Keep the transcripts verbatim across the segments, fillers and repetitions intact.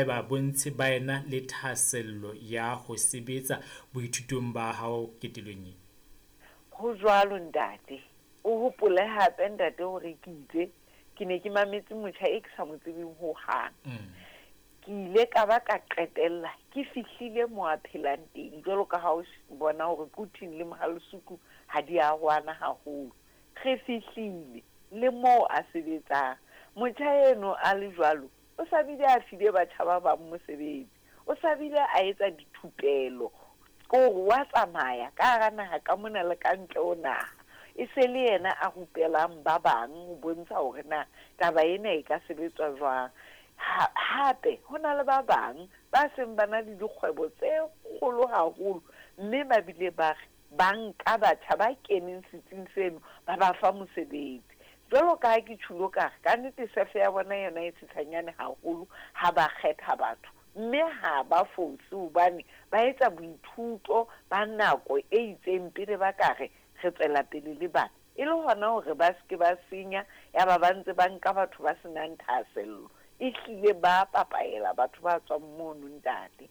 Ba bontshe ba ena le thahasello ya ho sebetsa boithutong ba hao ketelong e. Ho jwalo, ntate. O hopole hape, ntate, hore ke itse ke ne ke mametse motjha e ke sa mo tsebeng hohang. Ke ile ka ba ka qetella ke fihlile mo a phelang teng, jwalo ka ha o bona hore Quthing le Mohale'shoek ha di arohana haholo. Re fihlile le moo a sebetsang. Motjha eno a le jwalo, o sa bile a file batjha ba bang mosebetsi. O sa bile a etsa dithupelo, kore wa tsamaya ka hara naha ka mona le ka ntle ho naha. E se le yena a rupelang ba bang ho bontsha hore na taba ena e ka sebetswa jwang. Ha, hape ho na le ba bang ba seng ba na le dikgwebo tse kgolo haholo, mme ba bile ba re ba nka batjha ba keneng setsing seno ba ba fa mosebetsi. Jwalo ka ha ke tjhulo ka re, ka nnete sefe ya bona yona e tshitshanyane haholo ha ba kgetha batho, mme ha ba fose hobane ba etsa boithuto ba nako e itseng pele ba ka re re tswela pele le bana. E le hona hore ba se ke ba senya, ya ba ba ntse ba nka batho ba senang thahasello. Ehlile ba papaela batho ba tswang mono, ntate.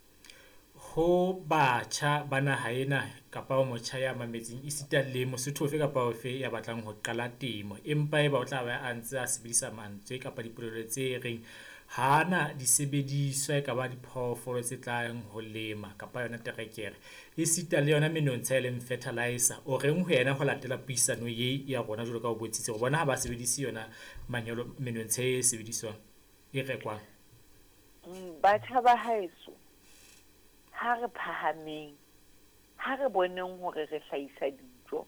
Ho batjha ba naha ena kapa o motjha ya mametseng esita le Mosotho ofe kapa ofe ya batlang ho qala temo, empa eba o tla ba a ntse a sebedisa mantswe kapa dipolelo tse reng ha na disebediswa, e ka ba diphoofolo tse tlang ho lema kapa yona terekere, esita le yona menontsha e leng fertilizer. O reng ho yena ho latela puisano ye ya rona jwalo ka o bontshitse hore bona ha ba sebedise yona manyolo menontsha e sebediswang e rekwang? Batjha ba haeso, ha re phahameng, ha re boneng hore re hlahisa dijo.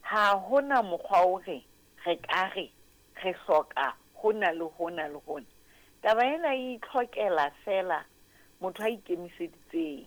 Ha hona mokgwa hore re ka re re hloka hona le hona le hona. Taba ena e itlhokela feela motho a ikemiseditseng,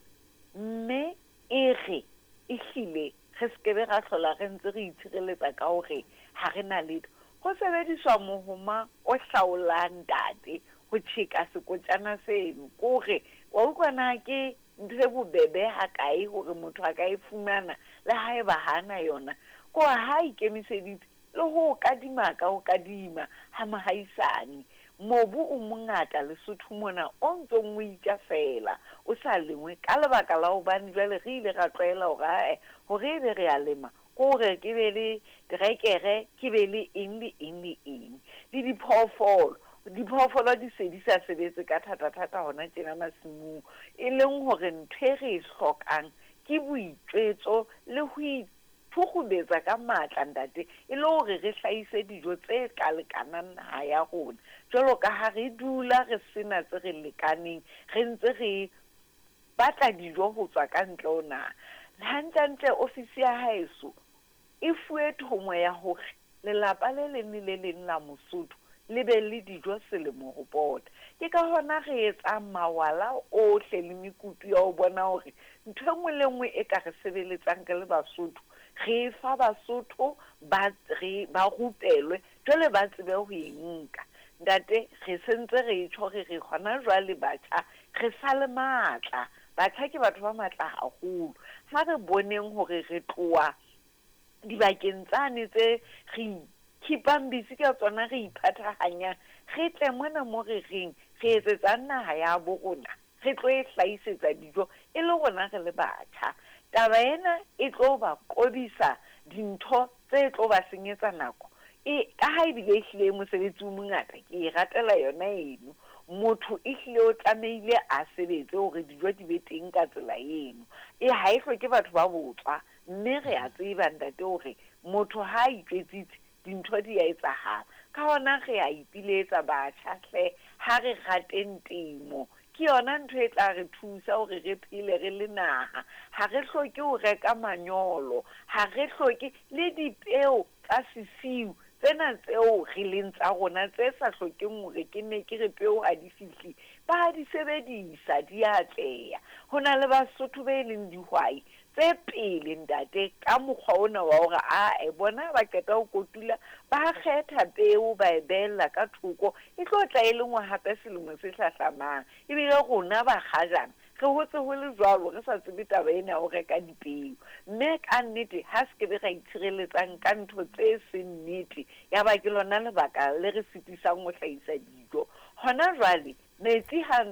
mme e re ehlile re skebe ra hlola re ntse re itshireletsa ka hore ha re na letho. Ho sebediswa mohoma o hlaolang, ntate, ho tjheka sekotjana seno. Kore wa utlwa na ke ntho e bobebe hakae hore motho a ka e fumana le haeba ha na yona. Kore ha ikemiseditse le ho kadima ka ho kadima ha mohaisane. Mobu o mongata Lesotho mona o ntsong o itja feela, o sa lengwe ka lebaka la hobane jwale re ile ra tlwaela hore ae hore ebe re a lema, kore ke be le terekere, ke be le eng le eng le eng. Le diphoofolo, diphoofolo di se di sa sebetse ka thata-thata hona tjena masimong, e leng hore ntho e re e hlokang ke boitjwetso le ho ithukgubetsa ka matla, ntate, e le hore re hlahise dijo tse ka lekanang naha ya rona. Jwalo ka ha re dula re sena tse re lekaneng, re ntse re batla dijo ho tswa ka ntle ho naha. Hantlentle ofisi ya haeso e fuwe thomo ya hore lelapa le leng le le leng la Mosotho le be le dijo selemo ho pota. Ke ka hona re etsang mawala ohle le mekutu ya ho bona hore ntho e nngwe le nngwe e ka re sebeletsang re le Basotho, re e fa Basotho ba re ba rupelwe, jwale ba tsebe ho e nka. Ntate, re sentse re tjho re re hona jwale batjha re sa le matla. Batjha ke batho ba matla haholo. Ha re boneng hore re tloha dibakeng tsane tse re keep-ang busy ka tsona, re iphathahanyang, re tle mona mo re reng re etsetsang naha ya bo rona, re tlo e hlahisetsa dijo e le rona re le batjha. Taba ena e tlo ba qobisa dintho tse tlo ba senyetsa nako. E ka ha ebile ehlile mosebetsi o mongata, ke e ratela yona eno. Motho ehlile o tlamehile a sebetse hore dijo di be teng ka tsela eno. E ha e hloke batho ba botswa, mme re a tseba, ntate, hore motho ha a itjwetsitse dintho di a etsahala. Ka hona re a ipiletsa batjha hle, ha re rateng temo. Ke yona ntho e tla re thusa hore re phele re le naha. Ha re hloke ho reka manyolo, ha re hloke le dipeo tsa sesiu tsena tseo re leng tsa rona tse sa hlokeng hore ke ne ke re peo ha di fihle, ba di sebedisa, di atleha. Ho na le Basotho be leng dihwai tse pele, ntate, ka mokgwa ona wa hore ae bona ba qeta ho kotula, ba kgetha peo ba e behella ka thoko, e tlo tla e lengwa hape selemo se hlahlamang. Ebile rona ba kgajana re hotse ho le jwalo, re sa tsebe taba ena ya ho reka dipeo. Mme ka nnete ha se ke be ra itshireletsang ka ntho tse seng nnete, ya ba ke lona lebaka le re sitisang ho hlahisa dijo. Hona jwale metsi ha